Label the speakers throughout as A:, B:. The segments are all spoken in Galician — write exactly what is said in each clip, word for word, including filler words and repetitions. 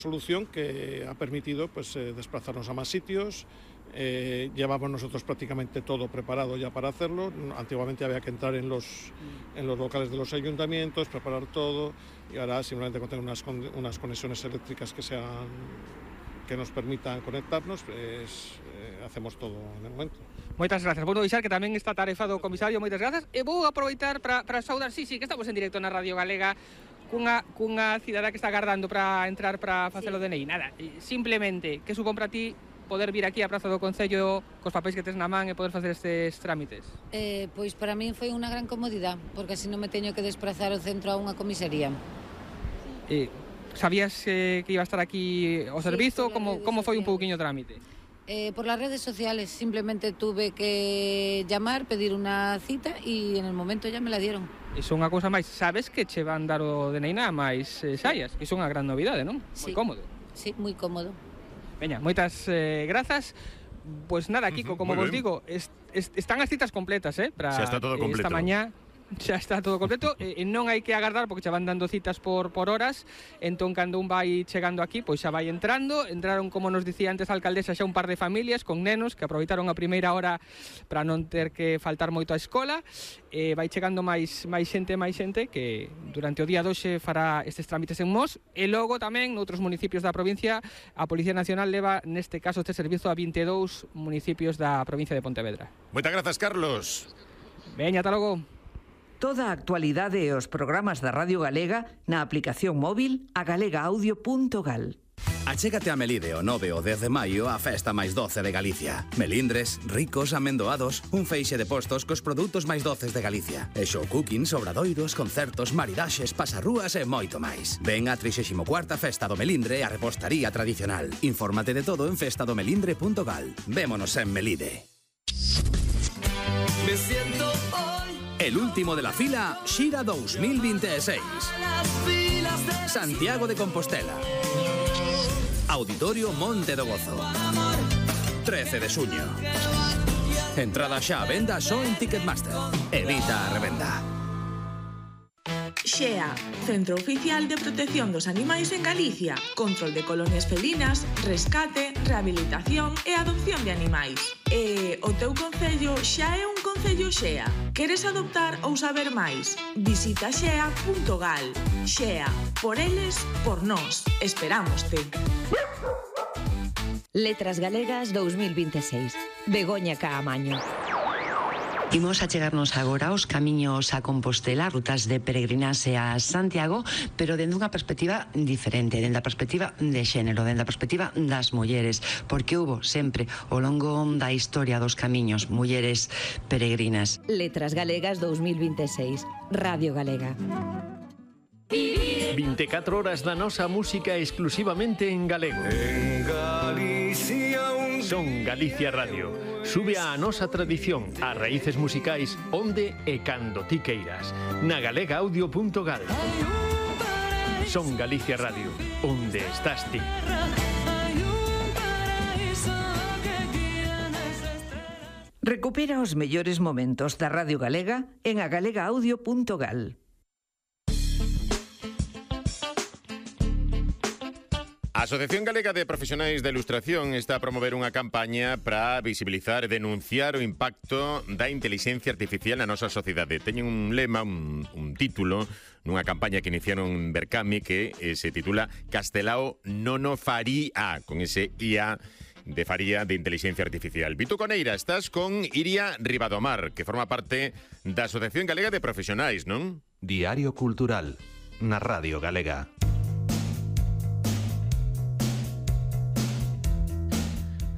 A: Solución que ha permitido pues, eh, desplazarnos a más sitios. Eh, llevamos nosotros prácticamente todo preparado ya para hacerlo. Antiguamente había que entrar en los, en los locales de los ayuntamientos, preparar todo, y ahora simplemente con tener unas, unas conexiones eléctricas que sean que nos permitan conectarnos, pues, eh, hacemos todo en el momento.
B: Moitas gracias. Vou deixar que tamén está tarefado o comisario, moitas grazas. E vou aproveitar para, para saudar, sí, sí, que estamos en directo na Radio Galega, cunha, cunha cidadá que está agardando para entrar para facer o D N I. Nada, simplemente, que supón para ti poder vir aquí á Praza do Concello cos papéis que tes na man e poder facer estes trámites?
C: Eh, pois para min foi unha gran comodidade, porque así non me teño que desplazar ao centro a unha comisaría.
B: Eh, sabías eh, que iba a estar aquí o servizo?
C: Sí,
B: como, como foi un pouquiño o trámite?
C: Eh, por las redes sociales, simplemente tuve que llamar, pedir una cita y en el momento ya me la dieron.
B: Iso unha cousa máis, sabes que che van dar o D N I nada máis eh, saias? Iso é unha gran novidade, non?
C: Sí.
B: Moi cómodo.
C: Sí, moi cómodo.
B: Veña, moitas eh, grazas. Pois pues nada, Kiko, como vos digo, est, est, están as citas completas, eh? Para
D: xa está todo completo.
B: Esta mañá xa está todo completo, e non hai que agardar porque xa van dando citas por, por horas. Entón, cando un vai chegando aquí, pois xa vai entrando. Entraron, como nos dicía antes a alcaldesa, xa un par de familias con nenos que aproveitaron a primeira hora para non ter que faltar moito á escola. E vai chegando máis, máis xente, máis xente que durante o día de hoxe fará estes trámites en Mos. E logo tamén noutros municipios da provincia a Policía Nacional leva neste caso este servizo a vinte e dous municipios da provincia de Pontevedra.
D: Moitas grazas, Carlos.
B: Veña, ata logo.
E: Toda a actualidade e os programas da Radio Galega na aplicación móvil a galega audio punto gal.
F: Achégate a Melide o nove ou dez de maio a festa máis doce de Galicia. Melindres, ricos, amendoados, un feixe de postos cos produtos máis doces de Galicia. E show cooking, sobradoiros, concertos, maridaxes, pasarrúas e moito máis. Ven a trixésima cuarta Festa do Melindre e a repostaría tradicional. Infórmate de todo en festa do melindre punto gal. Vémonos en Melide.
G: Me siento hoy
F: El último de la fila, Xira dos mil veintiséis. Santiago de Compostela. Auditorio Monte do Gozo. trece de xuño. Entrada xa a venda só en Ticketmaster. Evita a revenda.
H: Xea, Centro Oficial de Protección dos Animais en Galicia. Control de colonias felinas, rescate, rehabilitación e adopción de animais. E o teu concello xa é un concello Xea. Queres adoptar ou saber máis? Visita xea punto gal. Xea, por eles, por nós. Esperámoste.
I: Letras Galegas dos mil veintiséis. Begoña Caamaño.
J: Imos a chegarnos agora aos camiños a Compostela, rutas de peregrinaxe a Santiago, pero dende unha perspectiva diferente, dende a perspectiva de xénero, dende a perspectiva das mulleres, porque hubo sempre ao longo da historia dos camiños mulleres peregrinas.
I: Letras Galegas dos mil veintiséis. Radio Galega.
K: vinte e catro horas da nosa música exclusivamente en galego.
G: en Galicia un
K: Son Galicia Radio. Sube a nosa tradición, as raíces musicais onde e cando ti queiras. Na galega audio punto gal. Son Galicia Radio, onde estás ti.
E: Recupera os mellores momentos da Radio Galega en a galega audio punto gal.
D: A Asociación Galega de Profesionais da Ilustración está a promover unha campaña para visibilizar e denunciar o impacto da inteligencia artificial na nosa sociedade. Teñen un lema, un, un título, nunha campaña que iniciaron en Berkami que eh, se titula Castelao non o faría, con ese I A de faría de inteligencia artificial. Vito Coneira, estás con Iria Ribadomar, que forma parte da Asociación Galega de Profesionais, non?
L: Diario Cultural, na Radio Galega.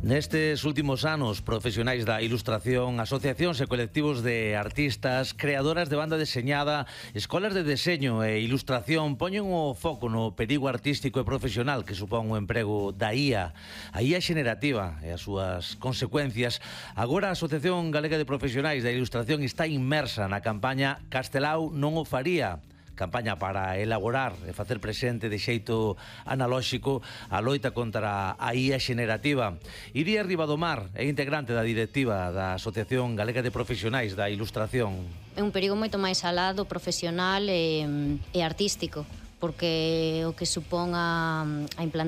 M: Nestes últimos anos, profesionais da ilustración, asociacións e colectivos de artistas, creadoras de banda deseñada, escolas de deseño e ilustración poñen o foco no perigo artístico e profesional que supón o emprego da I A, a I A xenerativa e as súas consecuencias. Agora a Asociación Galega de Profesionais da Ilustración está inmersa na campaña Castelao non o faría, campaña para elaborar e facer presente de xeito analóxico a loita contra a I A xenerativa. Iria Ribadomar é integrante da directiva da Asociación Galega de Profesionais da Ilustración.
N: É un perigo moito máis alá do profesional e, e artístico, porque o que supón a, a implantación